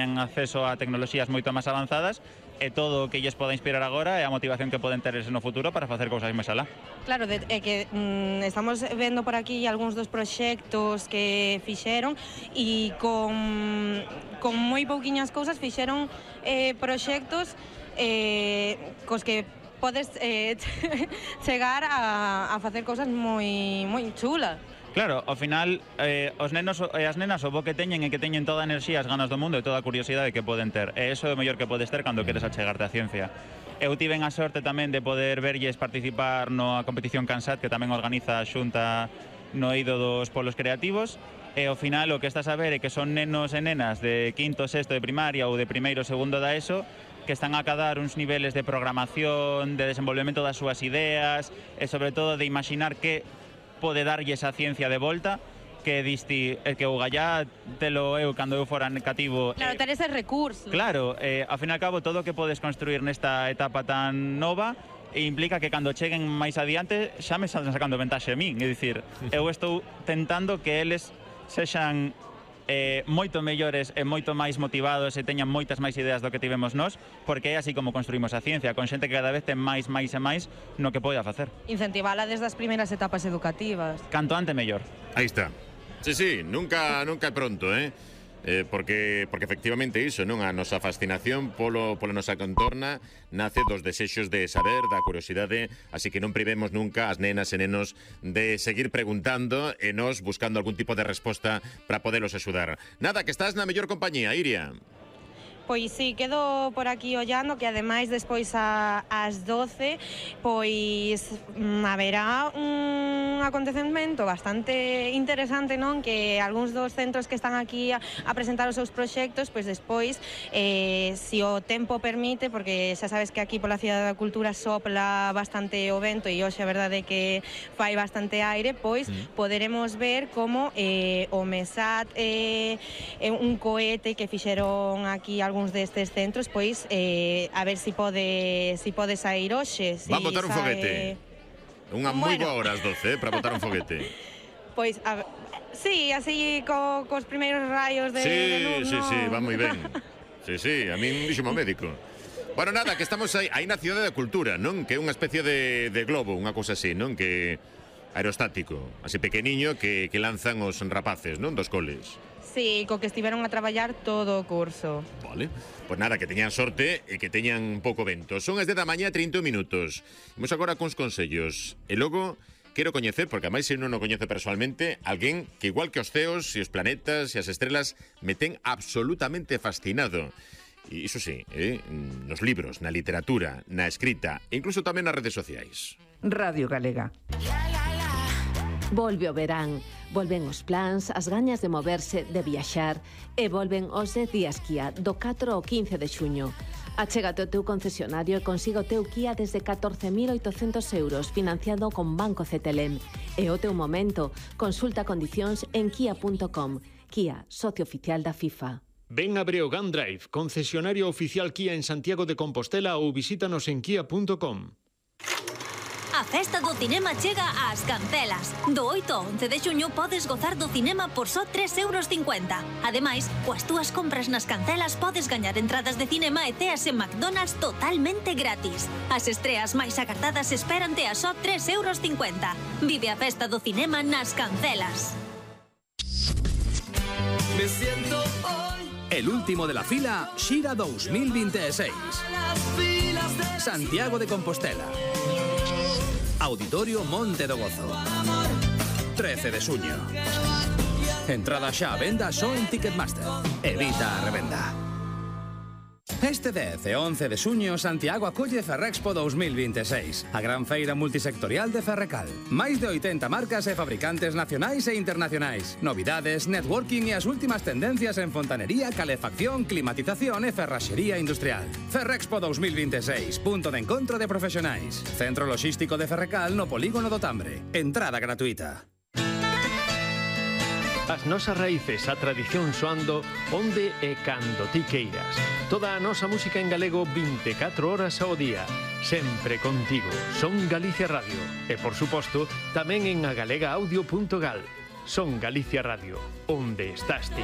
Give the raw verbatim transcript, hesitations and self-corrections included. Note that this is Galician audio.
ten acceso a tecnoloxías moito máis avanzadas e todo o que lles poda inspirar agora é a motivación que poden ter no futuro para facer cousas máis alá. Claro, de, é que mm, estamos vendo por aquí algúns dos proxectos que fixeron e con, con moi pouquiñas cousas fixeron eh, proxectos eh, cos que podes eh, chegar a, a facer cousas moi, moi chulas. Claro, ao final, eh, os nenos e as nenas o bo que teñen é que teñen toda a enerxía, as ganas do mundo e toda a curiosidade que poden ter. E iso é o mellor que podes ter cando queres achegarte á ciencia. Eu tiven a sorte tamén de poder verlles participar na competición CANSAT, que tamén organiza a Xunta no eido dos polos creativos, e ao final o que estás a ver é que son nenos e nenas de quinto, sexto de primaria ou de primeiro, segundo da ESO, que están a acadar uns niveles de programación, de desenvolvemento das súas ideas e sobre todo de imaginar que pode darlle esa ciencia de volta que disti, eh, que o gallá telo eu cando eu fora cativo. Claro, ter ese recurso. Claro, eh, ao fin e ao cabo todo o que podes construir nesta etapa tan nova e implica que cando cheguen máis adiante xa me están sacando ventaxe a min, é dicir, eu estou tentando que eles sexan eh, moito mellores e moito máis motivados e teñan moitas máis ideas do que tivemos nós, porque é así como construímos a ciencia, con xente que cada vez ten máis, máis e máis no que poida facer. Incentivala desde as primeiras etapas educativas. Canto ante mellor. Aí está. Sí, sí, nunca, nunca é pronto, eh? Eh, porque, porque efectivamente iso, non? A nosa fascinación polo, pola nosa contorna nace dos desexos de saber, da curiosidade, así que non privemos nunca as nenas e nenos de seguir preguntando e nos buscando algún tipo de resposta para podelos axudar. Nada, que estás na mellor compañía, Iria. Pois sí, quedo por aquí ollando que ademais despois a, ás doce pois mm, haberá un acontecemento bastante interesante, non? Que algúns dos centros que están aquí a, a presentar os seus proxectos, pois despois eh, si o tempo permite, porque xa sabes que aquí pola Cidade da Cultura sopla bastante o vento e hoxe a verdade é que fai bastante aire, pois mm. poderemos ver como eh, o MESAT é eh, un cohete que fixeron aquí algúns destes centros, pois eh, a ver si pode si pode sair hoxe. Si Va a botar un sae... foguete. Unha moi bueno. boa hora as doce, eh, para botar un foguete. Pois, a... sí, así co, cos primeiros rayos de, sí, de luz, sí, no? sí, va moi ben. Sí, sí, a min dixo o médico. Bueno, nada, que estamos aí, aí na Cidade da Cultura, non? Que é unha especie de, de globo, unha cousa así, non? Que aerostático, así pequeniño, que, que lanzan os rapaces, non? Dos coles. Sí, co que estiveron a traballar todo o curso. Vale, pois nada, que teñan sorte e que teñan pouco vento. Son as dez da mañá, trinta minutos. Imos agora cons consellos. E logo quero coñecer, porque a máis se non o coñece personalmente, alguén que igual que os ceos e os planetas e as estrelas me ten absolutamente fascinado. E iso sí, eh, nos libros, na literatura, na escrita e incluso tamén nas redes sociais. Radio Galega. Volve o verán, volven os plans, as gañas de moverse, de viaxar e volven os dez días Kia do catro ao quince de xuño. Achégate ao teu concesionario e consiga o teu Kia desde catorce mil oitocentos euros financiado con Banco C T L M. E o teu momento, consulta condicións en kia punto com. Kia, socio oficial da FIFA. Ven a Breogán Drive, concesionario oficial Kia en Santiago de Compostela ou visítanos en kia punto com. A festa do cinema chega ás Cancelas. Do oito ao once de xuño podes gozar do cinema por só tres euros cincuenta. Ademais, coas túas compras nas Cancelas podes gañar entradas de cinema e ceas en McDonald's totalmente gratis. As estreas máis agardadas esperante a só tres euros cincuenta. Vive a festa do cinema nas Cancelas. Me siento hoy. El último de la fila, Xira dos mil veintiséis. Santiago de Compostela. Auditorio Monte do Gozo. trece de xuño. Entrada xa a venda só en Ticketmaster. Evita a revenda. Este dez e once de xuño, Santiago acolle Ferrexpo dos mil veintiséis, a gran feira multisectorial de Ferrecal. Máis de oitenta marcas e fabricantes nacionais e internacionais. Novidades, networking e as últimas tendencias en fontanería, calefacción, climatización e ferraxería industrial. Ferrexpo dos mil veintiséis, punto de encontro de profesionais. Centro Logístico de Ferrecal no Polígono do Tambre. Entrada gratuita. As nosas raíces, a tradición soando onde e cando ti queiras. Toda a nosa música en galego vinte e catro horas ao día. Sempre contigo. Son Galicia Radio. E, por suposto, tamén en agalega audio punto gal. Son Galicia Radio. Onde estás ti?